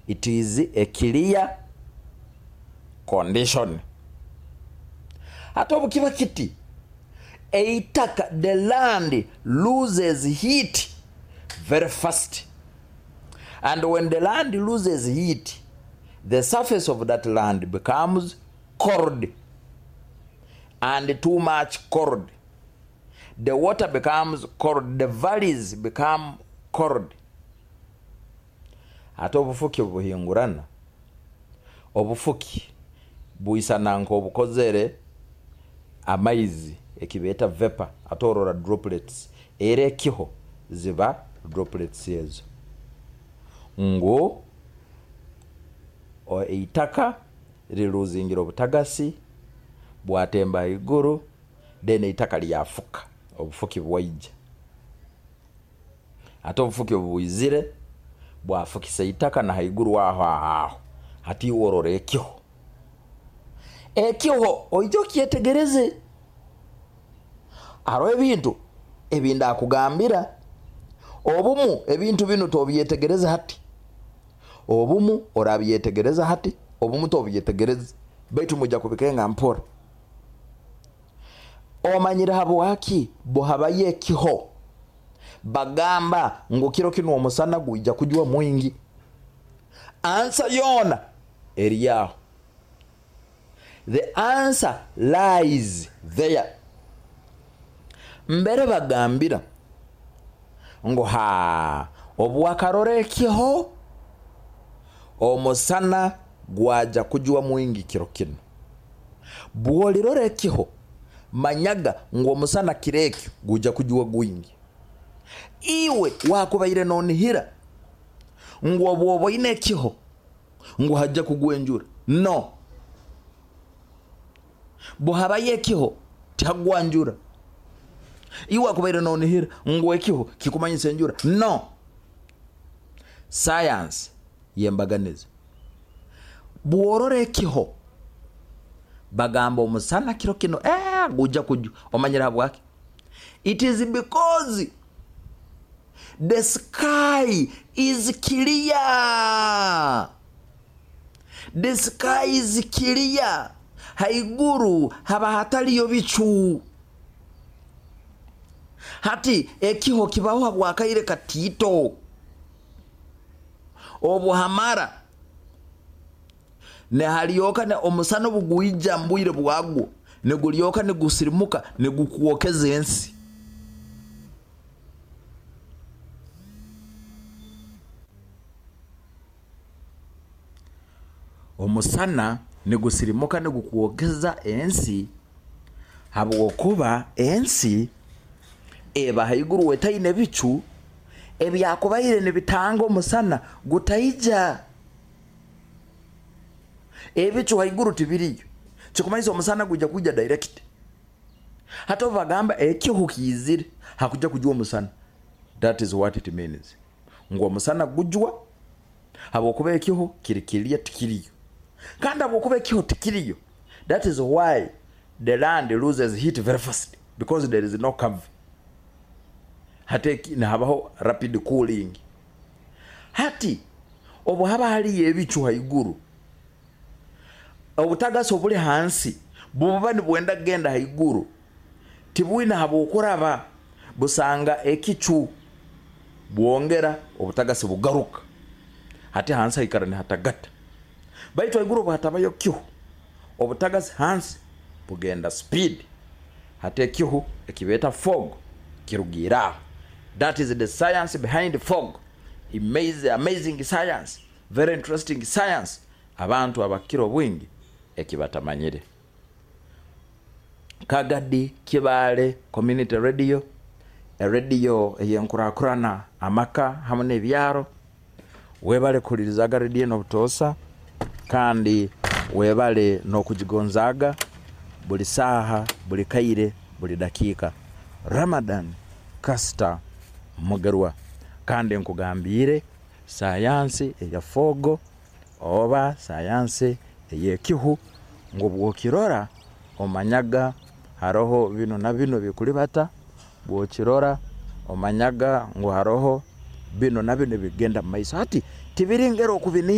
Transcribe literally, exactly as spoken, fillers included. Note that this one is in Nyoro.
It is a clear condition. Hati obu kiba kiti, eitaka, the land loses heat very fast, and when the land loses heat, the surface of that land becomes cold, and too much cold, the water becomes cold, the valleys become cold. Ate obufuki obuhingurana, obufuki bwisana nk'obukozere amaizi, ekibeeta vapor. Ate orora droplets, era ekiho ziba droplets ezo, ngu eitaka riruzingira obutagasi, bwatemba haiguru, then eitaka lyafuka, obufuki bwaija. Ate obufuki obu bwizire bwafukisa eitaka na haiguru aho aho. Hati iwe orora ekiho, ekiho oije okyetegereze. Haroho ebintu ebindakugambira, obumu ebintu binu tobyetegereza hati, obumu orabyetegereza hati, obumu tobyetegereza, baitu mwija kubikenga mpora. Omanyire habwaki buhabayo ekiho bagamba ngu kiro kinu omusana gwija kujwa mwingi? Answer yoona eri aho. The answer lies there. Mbere bagambira ngu ha obu wakarora ekiho, omusana gwaja kujwa mwingi kiro kinu. Bwolirora ekiho, manyaga ngu omusana kiro ekyo gujya kujwa gwingi. Iwe wakubaire nonihira ngu obu oboine ekiho ngu hajja kugwa enjura? No, buhabayo ekiho tihagwa njura. Iwe wakubaire nonihira ngu ekiho kikumanyisa enjura? No. Science yembaganiza. Bworora ekiho bagamba omusana kiro kino eh, gujja kujwa, omanyire habwaki? It is because the sky is clear. The sky is clear. Haiguru haba hataliyo bicu. Hati ekiho kibaho habwakaire katiito, obuhamara nehalyoka ne omusana obugwija mbwire bwagwo, nigulyoka nigusirimuka nigukwokeza ensi. Omusana nigusirimuka nigukwokeza ensi, habwokuba ensi eba haiguru etaine bicu ebyakubaire nibitanga omusana gutaija. Ebicu haiguru tibiriyo, kikumanyisa omusana gujya kwijja direct. Hati obu bagamba ekihu kiizire, hakujya kujwa omusana, that is what it means, ngu omusana gujwa habwokuba ekiho kiri kiriya, tikiriyo. Kandi habwokuba ekiho tikiriyo, that is why the land loses heat very fast, because there is no cover. Hati nihabaho rapid cooling. Hati obu haba haliyo ebicu haiguru, obutagasi obuli hansi buba nibwenda kugenda haiguru, tibwine habwokuraba, busanga ekicu, bwongera obutagasi bugaruka. Hati hansi haikara nihatagata. Baitu haiguru obu hatabayo kihu, obutagasi hansi bugenda speed. Hati ekihu ekibeeta fog kirugiire aho. That is the science behind fog. Amazing, amazing science, very interesting science, abantu abakira obwingi ekibatamanyire. Kagadi Kibaale Community Radio, erediyo eyenkurakurana amaka hamu n'ebyaro. Webale kuhulirizaga rediyo n'obutoosa, kandi webale n'okugigonzaaga buli saaha, buli kaire, buli dakiika. Ramadan Kasita Mugerwa, kandi nkugambiire sayansi eya fog oba sayansi ey'ekihu, ngu bwokirora omanyaga haroho binu na binu bikulibata, bwokirora omanyaga ngu haroho binu na binu bigenda mumaiso. Hati tibiringera okubinihira.